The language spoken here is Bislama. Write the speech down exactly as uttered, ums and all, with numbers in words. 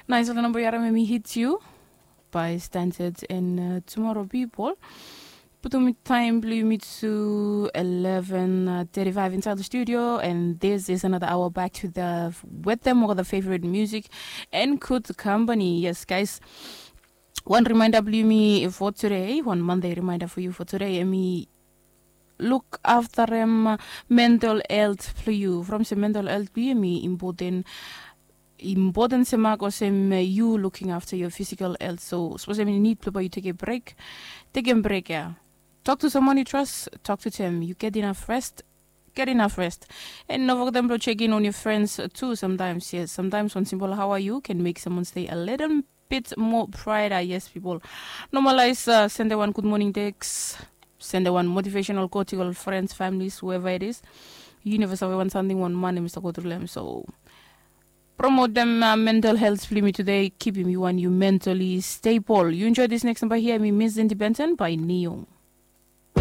Nais ol namba yu harim em i hit yu by standard and uh, tomorrow people. Putum taim bilong yumi to eleven thirty-five inside the studio, and this is another hour back to the with them or the favorite music and good company. Yes, guys. One reminder bilong yumi for today, one Monday reminder for you for today. Em i look after em mental health bilong you. From se mental health bilong you em i important important se mak olsem you looking after your physical health. So suppose em i need bilong bai you take a break, take a break ya. Talk to someone you trust, talk to them. You get enough rest, get enough rest. And no forget them to check in on your friends too sometimes. Yes, sometimes one simple how are you can make someone stay a little bit more brighter. Yes, people. Normalize uh, send one good morning text, send one motivational quote to your friends, families, whoever it is. You never sabi one something one man Mr. Go through them. So promote them uh, mental health for me today. Keep me one you mentally stable. You enjoy this next number here. Me Miss Independent by Neo.